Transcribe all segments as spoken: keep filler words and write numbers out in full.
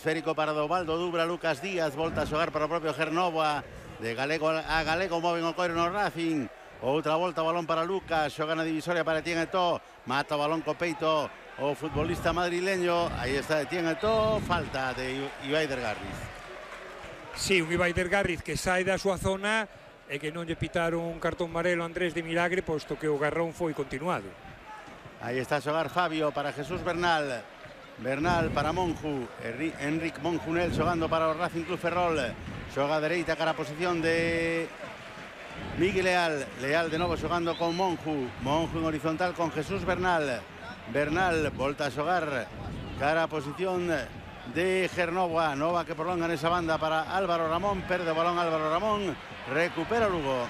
Esférico para Dovaldo Dubra, Lucas Díaz, volta a xogar para o propio Gernovoa, de Galego a Galego, moven o coiro no Racing, outra volta, balón para Lucas, xoga na divisoria para Etienne Eto'o, mata o balón co peito o futbolista madrileño, aí está Etienne Eto'o, falta de Ibai Dergarriz. Sí, un Ibai Dergarriz que sai da súa zona e que non lle pitaron un cartón amarelo a Andrés de Milagre, posto que o garrón foi continuado. Aí está a xogar Fabio para Jesús Bernal, Bernal para Monju, Enric Monjunel xogando para o Racing Club Ferrol, xoga a dereita cara a posición de Miguel Leal, Leal de novo xogando con Monju, Monju en horizontal con Jesús Bernal, Bernal volta a xogar cara a posición de Gernovoa, Nova que prolonga nesa banda para Álvaro Ramón, perde o balón Álvaro Ramón, recupera Lugo.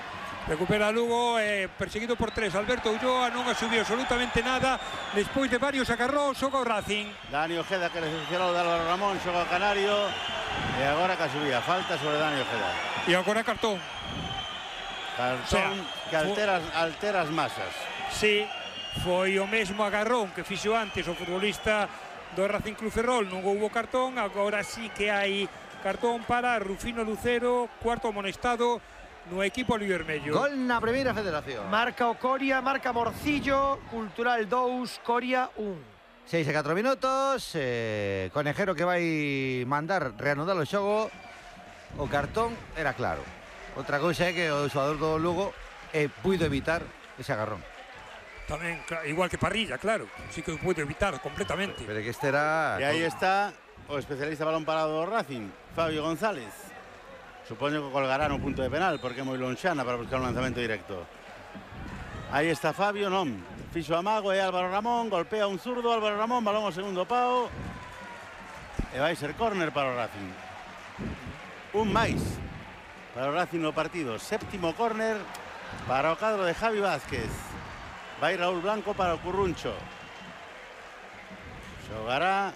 Recupera Lugo, eh, perseguido por tres. Alberto Ulloa non asubiu absolutamente nada. Despois de varios agarrós, xoga o Racing. Dani Ojeda que recepcionou de Álvaro Ramón, xoga o Canario. E agora que subía, falta sobre Dani Ojeda. E agora cartón. Cartón o sea, que altera, altera as masas. Sí, foi o mesmo agarrón que fixo antes o futbolista do Racing Club Ferrol. Non houbo cartón, agora sí que hai cartón para Rufino Lucero, cuarto amonestado no equipo albivermello. Gol na primeira federación. Marca o Coria, marca Morcillo, Cultural dous, Coria un. seis e catro minutos, eh, Conejero que vai mandar reanudar o xogo. O cartón era claro. Outra cousa é que o xogador do Lugo eh, puido evitar ese agarrón. Tamén, igual que Parrilla, claro. Sí que puido evitar completamente. Pero que este era... E aí está o especialista balón parado do Racing, Fabio González. Supoño que colgará no punto de penal porque é moi lonxana para buscar un lanzamento directo. Aí está Fabio, non. Fixo amago e Álvaro Ramón, golpea un zurdo, Álvaro Ramón, balón ao segundo pau. E vai ser córner para o Racing. Un máis para o Racing no partido. Séptimo córner para o cadro de Javi Vázquez. Vai Raúl Blanco para o Curruncho. Xogará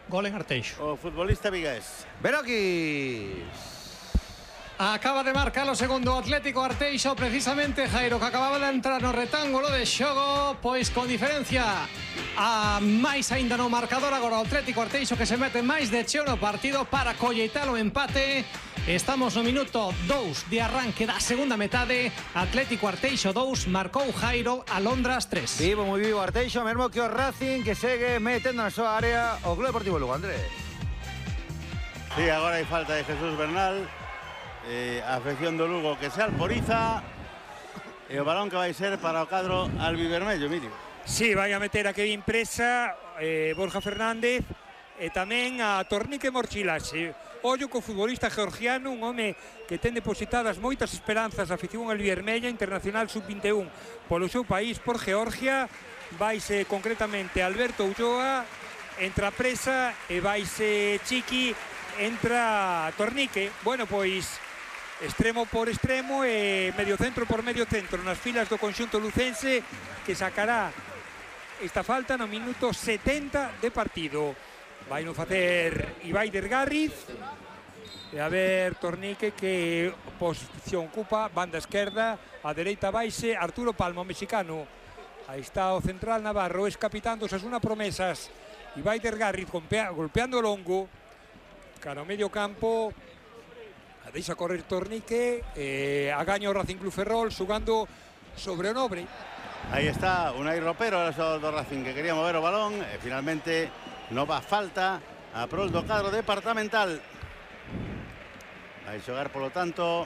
gol en Arteixo. O futbolista vigués. Beroquis. Acaba de marcar o segundo Atlético Arteixo, precisamente Jairo, que acababa de entrar no retángulo de xogo, pois con diferencia a máis aínda no marcador. Agora o Atlético Arteixo que se mete máis de cheo no partido para colleitar o empate. Estamos no minuto dous de arranque da segunda metade. Atlético Arteixo dous, marcou Jairo, Alondras tres. Vivo, moi vivo Arteixo, mesmo que o Racing que segue metendo na súa área o Club Deportivo Lugo, Andrés. Sí, agora hai falta de Jesús Bernal. Eh, a afección do Lugo que se alporiza. E o balón que vai ser para o cadro albivermello, Emilio. Sí, vai a meter a Kevin Presa, eh, Borja Fernández e tamén a Tornique Morchilaxe. Ollo co futbolista georgiano, un home que ten depositadas moitas esperanzas a afición albivermella, internacional sub vinte e un polo seu país, por Georgia. Vaise concretamente Alberto Ulloa, entra Presa e vaise Chiqui, entra Tornique. Bueno, pois extremo por extremo e medio centro por medio centro nas filas do conxunto lucense, que sacará esta falta no minuto setenta de partido. Vai no facer Ibai Dergarriz. E a ver Tornique que posición ocupa, banda esquerda, a dereita vaise Arturo Palma, o mexicano. Aí está o central navarro, es capitán dos Osasuna Promesas. Ibai Dergarriz golpeando o longo cara ao medio campo. A deixa correr Tornique, eh, a gaña o Racing Club Ferrol xugando sobre o Nobre. Aí está Unai Ropero, o xogador do Racing que quería mover o balón e finalmente nova falta a prol do cadro departamental. Vai xogar polo tanto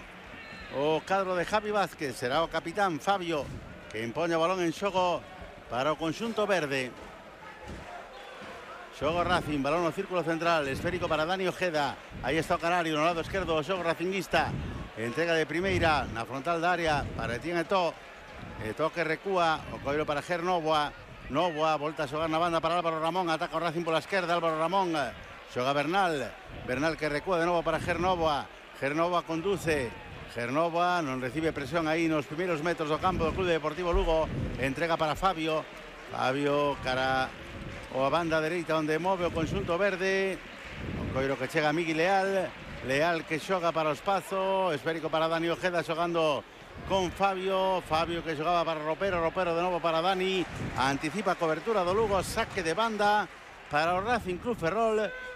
o cadro de Javi Vázquez, será o capitán Fabio que impoña o balón en xogo para o conxunto verde. Xogo Racing, balón no círculo central, esférico para Dani Ojeda. Aí está o Canario no lado esquerdo, o xogo racinguista. Entrega de primeira na frontal da área para Etienne Eto'o. Eto'o que recúa, o coiro para Gernovoa. Novoa, volta a xogar na banda para Álvaro Ramón, ataca o Racing pola esquerda, Álvaro Ramón. Xoga Bernal, Bernal que recúa de novo para Gernovoa. Gernovoa conduce, Gernovoa non recibe presión aí nos primeiros metros do campo do Club Deportivo Lugo. Entrega para Fabio. Fabio cara o a banda dereita onde move o conxunto verde. O coiro que chega a Miguel Leal. Leal que xoga para o espazo. Esférico para Dani Ojeda xogando con Fabio. Fabio que xogaba para Ropero. Ropero de novo para Dani. Anticipa a cobertura do Lugo. Saque de banda para o Racing Club Ferrol.